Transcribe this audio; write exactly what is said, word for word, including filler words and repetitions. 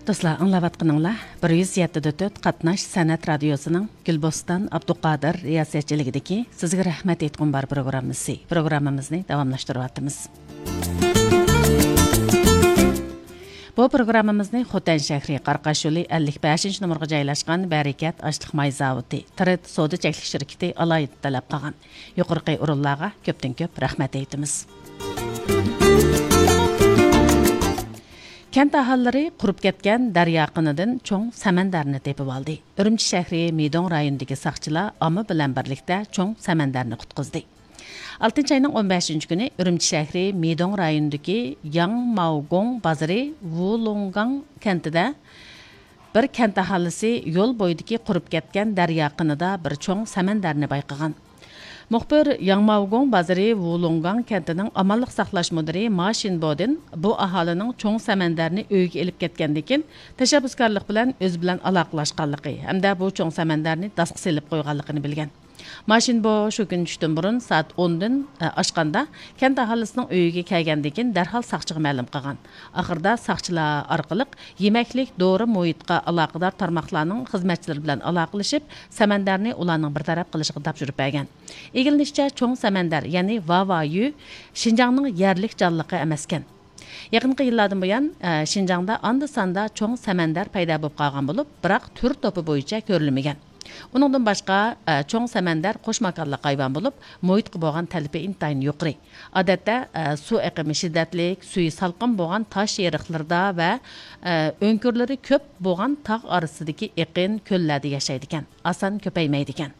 دوستلار، ئاڭلاۋاتقىنىڭلار بىر يۈز يەتتە دە تۆت قاتناش سەنئەت رادىيوسىنىڭ گۈلبوستان ئابدۇقادىر رىياسەتچىلىكىدىكى سىزگە رەھمەت ئېيتقۇم بار پروگراممىسى. پروگراممىمىزنى داۋاملاشتۇرۇۋاتىمىز. بۇ پروگراممىمىزنى خوتەن شەھىرى قاراقاش يولى ئەللىك بەشىنچى نومۇرغا جايلاشقان بەرىكەت ئاشلىق ماي زاۋۇتى، تىرىت سودا چەكلىك شىركىتى ئالاھىدە تەلەپ قىلغان. يۇقىرىقى ئورۇنلارغا كۆپتىن كۆپ رەھمەت ئېيتىمىز. كەنت ئاھالىلىرى قۇرۇپ كەتكەن دەريا قىنىدىن چوڭ سەمەندەرنى تېپىۋالدى. ئۈرۈمچى شەھىرى مىدوڭ رايونىدىكى ساقچىلار ئامما بىلەن بىرلىكتە چوڭ سەمەندەرنى قۇتقۇزدى. ئالتىنچى ئاينىڭ ئون بەشىنچى كۈنى ئۈرۈمچى شەھىرى مىدوڭ رايونىدىكى ياڭماۋگوڭ بازىرى ۋۇلۇڭگاڭ كەنتىدە بىر كەنت ئاھالىسى يول بويىدىكى قۇرۇپ كەتكەن دەريا قىنىدا بىر چوڭ سەمەندەرنى بايقىغان. مۇخبىر ياڭماۋگوڭ بازىرى ۋۇلۇڭگاڭ كەنتىنىڭ ئامانلىق ساقلاش مۇدىرى ما شىنبودىن بۇ ئاھالىنىڭ چوڭ سەمەندەرنى ئۆيىگە ئېلىپ كەتكەندىن كېيىن، تەشەببۇسكارلىق بىلەن ئۆزى بىلەن ئالاقىلەشكەنلىكى ھەمدە بۇ چوڭ سەمەندەرنى داسقا سېلىپ قويغانلىقىنى بىلگەن. ما شىنبو شۇ كۈنى چۈشتىن بۇرۇن سائەت ئوندىن، ئە، ئاشقاندا، كەنت ئاھالىسىنىڭ ئۆيىگە كەلگەندىن كېيىن دەرھال ساقچىغا مەلۇم قىلغان. ئاخىرىدا ساقچىلار ئارقىلىق يېمەكلىك، دورا مۇھىتقا ئالاقىدار تارماقلارنىڭ خىزمەتچىلىرى بىلەن ئالاقىلىشىپ، سەمەندەرنى ئۇلارنىڭ بىر تەرەپ قىلىشىغا تاپشۇرۇپ بەرگەن. ئىگىلىنىشىچە، چوڭ سەمەندەر، يەنى ۋاۋايۈ، شىنجاڭنىڭ يەرلىك جانلىقى ئەمەسكەن. يېقىنقى يىللاردىن بۇيان، ئە، شىنجاڭدا ئاندا-ساندا چوڭ سەمەندەر پەيدا بولۇپ قالغان بولۇپ، بىراق تۈر توپى بويىچە كۆرۈلمىگەن. ئۇنىڭدىن باشقا، ئە، چوڭ سەمەندەر قوش ماكانلىق ھايۋان بولۇپ، مۇھىتقا بولغان تەلىپى ئىنتايىن يۇقىرى. ئادەتتە، ئە، سۇ ئېقىمى شىددەتلىك، سۈيى سالقىن بولغان تاش ئېرىقلىرىدا ۋە، ئە، ئۆڭكۈرلىرى كۆپ بولغان تاغ ئارىسىدىكى ئېقىن، كۆللەردە ياشايدىكەن، ئاسان كۆپەيمەيدىكەن.